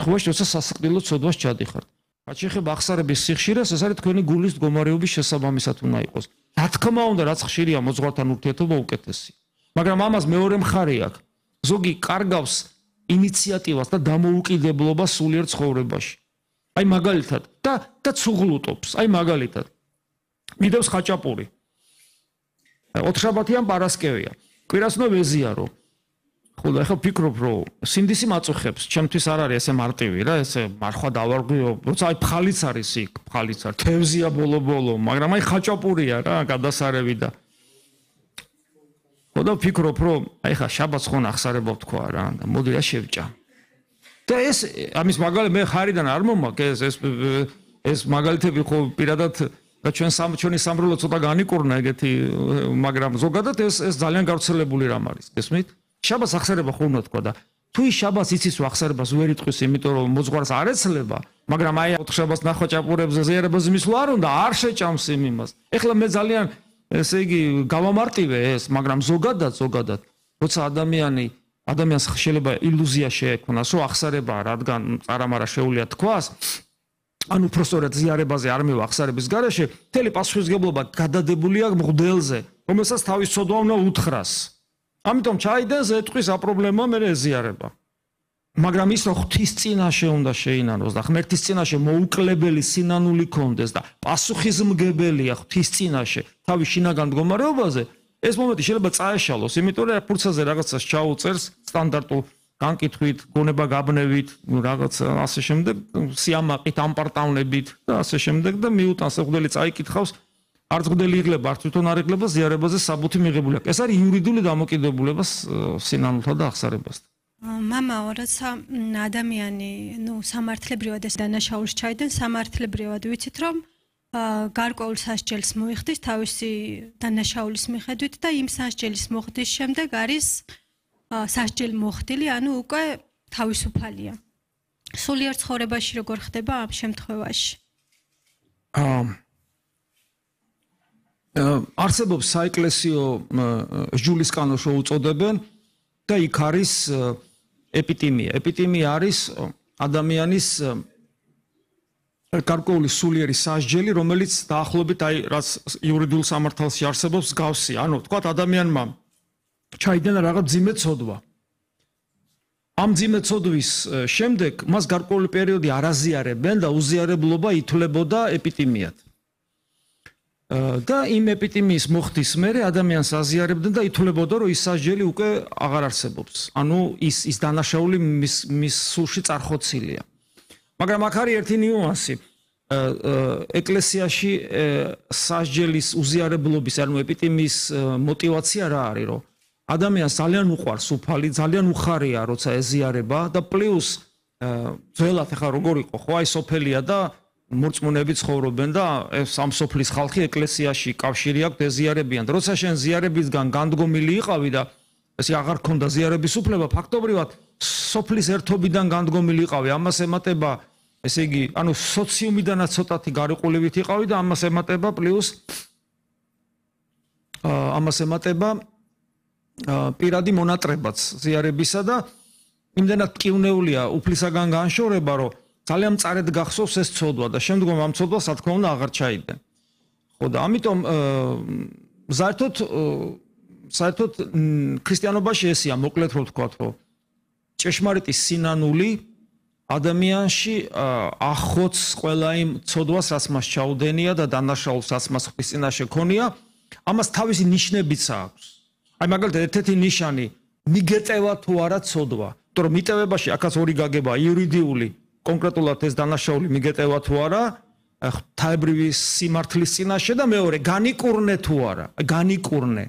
ხოვაში როცა სასიკვდილო ცოდვას ჩადიხართ. რაც შეეხება აღსარების სიხშირეს, ეს არის თქვენი გულის მდგომარეობის შესაბამისად უნდა იყოს. რა თქმა უნდა, რაც ხშირია მოძღვართან ურთიერთობა უკეთესია. მაგრამ ამას მეორე მხარე აქვს. ზოგი კარგავს ინიციატივას და დამოუკიდებლობას სულიერ ცხოვრებაში. აი მაგალითად და ცუღლუტობს. აი მაგალითად. მიდევს ხაჭაპური. ოთხშაბათიან პარასკევია. კვირას უნდა ვეზიარო. ხო და ახლა ვფიქრობ, რომ სინდისი მაწუხებს, ჩემთვის არ არის ესე მარტივი რა, ესე მარხვა დავარღვიო, როცა აი ფხალიც არის იქ, ფხალიც არის, თევზია ბოლო-ბოლო, მაგრამ აი ხაჭაპურია რა, გადასარევი და ხო და ვფიქრობ, რომ აი ხა შაბათს ხომ ახსარება თქვა რა, და მოდი რა შევჭა. და ეს ამის მაგალითი მე ხარიდან არ მომაქვს ეს მაგალითები ხო პირადად და ჩვენი სამრევლო ცოტა განიკურნა ეგეთი, მაგრამ ზოგადად ეს ძალიან გავრცელებული რამ არის, გესმით? შაბათს ახსარება ხო უნდა თქვა და თუ ის შაბათს იცის რომ ახსარებას ვერ იტყვის, იმიტომ რომ მოძღვარს არ ეცლება, მაგრამ აი ოთხშაბათს ნახოჭაპურებზე ზიარებას მისვლა არ უნდა, არ შეჭამს იმ იმას. ეხლა მე ძალიან ესე იგი გავამარტივე ეს, მაგრამ ზოგადად როცა ადამიანს შეიძლება ილუზია შეექმნას, რომ ახსარება რადგან წარამარა შეუძლია თქვას, ან უпростоრად ზიარებაზე არ მივა ახსარების გარეშე, მთელი პასუხისმგებლობა გადადებულია მღვდელზე, რომელსაც თავის ცოდვა უნდა უთხრას. ამიტომ ჩაიდენს ეტყვის აპრობლემოა მე ეზიარება. მაგრამ ის რომ ღვთის წინაშე უნდა შეინანოს და ღმერთის წინაშე მოუკლებელი სინანული კონდეს და პასუხისმგებელია ღვთის წინაშე თავის შინაგან მდგომარეობაზე, ეს მომენტი შეიძლება წაეშალოს, იმიტომ რომ ფურცაზე რაღაცას ჩაუწერს სტანდარტულ განკითხვით, გონება გაბნევით, რაღაც ასე შემდეგ, სიამაყით, ამპარტავნებით და ასე შემდეგ და მიუტანს მღვდელი წაიკითხავს, არც მღვდელი იღლება, არც თვითონ არ იღლება ზიარებაზე საბუთი მიღებული აქვს. ეს არის იურიდიული დამოკიდებულება სინანულთა და ახსარებასთან. მამაო, როცა ადამიანი, სამართლებრივად ეს დანაშაულს ჩაიდენს, სამართლებრივად ვიცით, რომ გარკვეულ სასჯელს მოიხდის თავისი დანაშაულის მიხედვით და იმ სასჯელის მოხდის შემდეგ არის სასჯელი მოხდილი, ანუ უკვე თავისუფალია. სულიერ ცხოვრებაში როგორ ხდება ამ შემთხვევაში? არსებობს საეკლესიო სჯულის კანონს უწოდებენ და იქ არის ეპიტიმია. ეპიტიმია არის ადამიანის გარკვეული სულიერი სასჯელი, რომელიც დაახლოებით აი რაც იურიდიულ სამართალში არსებობს გავსი. ანუ თქვათ ადამიანმა ჩაიდენა რაღაც მძიმე ცოდვა. ამ მძიმე ცოდვის შემდეგ მას გარკვეული პერიოდი არ აზიარებენ და უზიარებლობა ითვლებოდა ეპიტიმიად. და იმ ეპიტიმიის მოხდის მერე ადამიანს აზიარებდნენ და ითვლებოდა რომ ის სასჯელი უკვე აღარ არსებობს. ანუ ის დანაშაული მის სულში წარხოცილია. მაგრამ აქ არის ერთი ნიუანსი. ეკლესიაში სასჯელის უზიარებლობის, ანუ ეპიტიმიის мотиваცია რა არის, რომ ადამიანს ძალიან უყვარს უფალი, ძალიან უხარია, როცა ეზიარება და პლუს ძველად ახლა როგორ იყო, ხო, აი სოფელია და მორწმუნეები ცხოვრობენ და ამ სოფლის ხალხი ეკლესიაში კავშირი აქვს, ეზიარებიან. როცა შენ ზიარებისგან განდგომილი იყავი და ესე აღარ ქონდა ზიარების უფლება, ფაქტობრივად სოფლის ერთობიდან განდგომილი იყავი, ამას ემატება, ესე იგი, ანუ სოციუმიდანაც ცოტათი გარიყულებით იყავი და ამას ემატება პლუს ამას ემატება პირადი მონატრებაც ზიარებისა და იმდენად მტკივნეულია უფლისაგან განშორება, რომ ძალიან მწარედ გახსოვს ეს ცოდვა და შემდგომ ამ ცოდვას რა თქმა უნდა აღარ ჩაიდნენ. ხო და ამიტომ საერთოდ ქრისტიანობაში ესია, მოკლედ რო ვთქვათ, რომ ჭეშმარიტი სინანული ადამიანში ახოც ყველა იმ ცოდვას, რაც მას ჩაუდენია და დანაშაულს, რაც მას ღვთის წინაშე ქონია, ამას თავისი ნიშნებიც აქვს. აი მაგალითად ერთ-ერთი ნიშანი მიგეტევა თუ არა ცოდვა. იმიტომ რომ მიტევებაში აქაც ორი გაგება, იურიდიული, კონკრეტულად ეს დანაშაული მიგეტევა თუ არა, ღვთაებრივი სიმართლის წინაშე და მეორე განიკურნე თუ არა, განიკურნე.